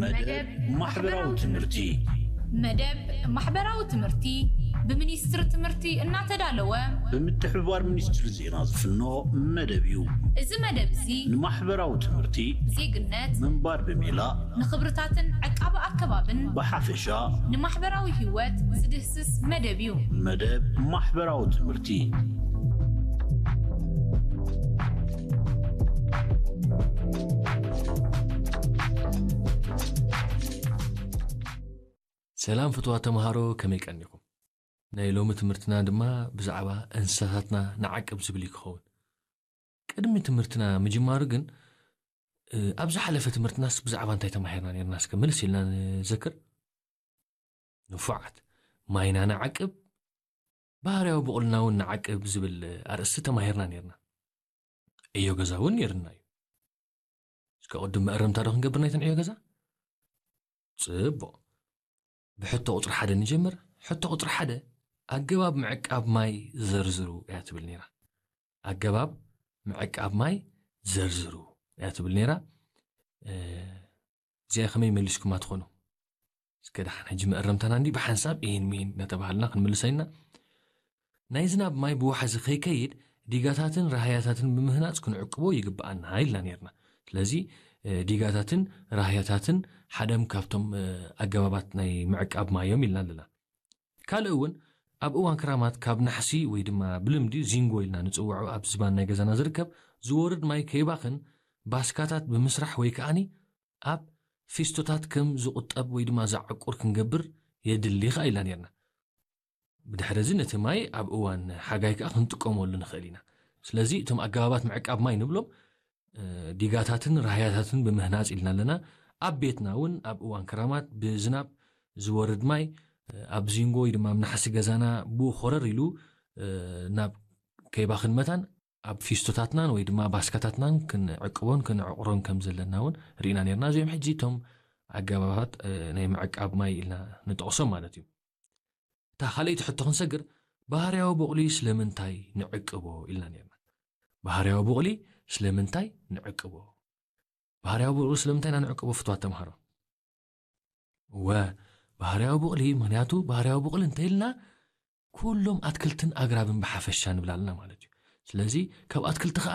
መደብ ማሕበራዊ ትምህርቲ። መደብ ማሕበራዊ ትምህርቲ ብሚኒስትሪ ትምህርቲ እናተዳለወ ብምትሕብባር ሚኒስትሪ ዜና ዝፍኖ መደብ እዩ። እዚ መደብ እዚ ንማሕበራዊ ትምህርቲ ዜግነት ምንባር ብሜላ ንኽብርታትን ዕቃበ ኣከባብን ብሓፈሻ ንማሕበራዊ ህይወት ዝድህስስ መደብ እዩ። መደብ ማሕበራዊ ትምህርቲ። ሰላም ፍትዋ ተምሃሮ፣ ከመይ ቀኒኹም? ናይ ሎሚ ትምህርትና ድማ ብዛዕባ እንስሳታትና ንዓቅብ ዝብል እዩ ክኸውን። ቅድሚ ትምህርትና ምጅማሩ ግን ኣብ ዝሓለፈ ትምህርትናስ ብዛዕባ እንታይ ተማሂርና ነርና? እስከ ምልስ ኢልና ንዘክር። ንፉዓት፣ ማይና ንዓቅብ፣ ባህርያዊ ብቑልና እውን ንዓቅብ ዝብል ኣርእስቲ ተማሂርና ነርና። ዕዮ ገዛ እውን ነርና እዩ። እስከ ቅድም መእረምታ ዶ ክንገብር ናይተን ዕዮ ገዛ? ጽቡቕ። ብሕቶ ቁጽሪ ሓደ ንጀምር። ሕቶ ቁጽሪ ሓደ፣ ኣገባብ ምዕቃብ ማይ ዘርዝሩ እያ ትብል ነይራ። ኣገባብ ምዕቃብ ማይ ዘርዝሩ እያ ትብል ነይራ። እዚኣ ከመይ መሊስኩማ ትኾኑ? እስከ ደሓን ሕጂ መእረምታና እንዲ ብሓንሳብ ኢን ሚን እናተባሃልና ክንምልሳ ኢና። ናይ ዝናብ ማይ ብዋሕዚ ከይከይድ ዲጋታትን ራህያታትን ብምህናፅ ክንዕቅቦ ይግብኣና ኢልና ነርና። ስለዚ ዲጋታትን ራህያታትን ሓደም ካብቶም ኣገባባት ናይ ምዕቃብ ማዮም ኢልና ኣለና። ካልእ እውን ኣብ እዋን ክራማት ካብ ናሕሲ ወይ ድማ ብልምዲ ዚንጎ ኢልና ንፅውዖ ኣብ ዝባን ናይ ገዛና ዝርከብ ዝወርድ ማይ ከይባኽን ባስካታት ብምስራሕ ወይ ከዓኒ ኣብ ፊስቶታት ከም ዝቑጠብ ወይ ድማ ዝዓቁር ክንገብር የድሊ ከኣ ኢልና ነርና። ብድሕሪ እዚ ነቲ ማይ ኣብ እዋን ሓጋይ ከኣ ክንጥቀመሉ ንኽእል ኢና። ስለዚ እቶም ኣገባባት ምዕቃብ ማይ ንብሎም ዲጋታትን ራህያታትን ብምህናፅ ኢልና ኣለና። ኣብ ቤትና እውን ኣብ እዋን ክራማት ብዝናብ ዝወርድ ማይ ኣብ ዚንጎ ወይ ድማ ኣብ ናሕሲ ገዛና ብኡ ኮረር ኢሉ ናብ ከይባኽን መታን ኣብ ፊስቶታትናን ወይ ድማ ባስካታትናን ክንዕቅቦን ክንዕቑሮን ከም ዘለና እውን ርኢና ነርና። እዚኦም ሕጂ እቶም ኣገባባት ናይ ምዕቃብ ማይ ኢልና ንጠቕሶም ማለት እዩ። እታ ካልኣይቲ ሕቶ ክንሰግር፣ ባህርያዊ ቡቕሊ ስለምንታይ ንዕቅቦ ኢልና ነርና። ባህርያዊ ቡቕሊ ስለምንታይ ንዕቅቦ? ባህርያዊ ቡቕሊ ስለምንታይ ኢና ንዕቅቦ ፍትዋት ተምሃሮ? ወ ባህርያዊ ቡቕሊ፣ ምኽንያቱ ባህርያዊ ቡቕሊ እንተኢልና ኩሎም ኣትክልትን ኣግራብን ብሓፈሻ ንብላልና ማለት እዩ። ስለዚ ካብ ኣትክልቲ ከዓ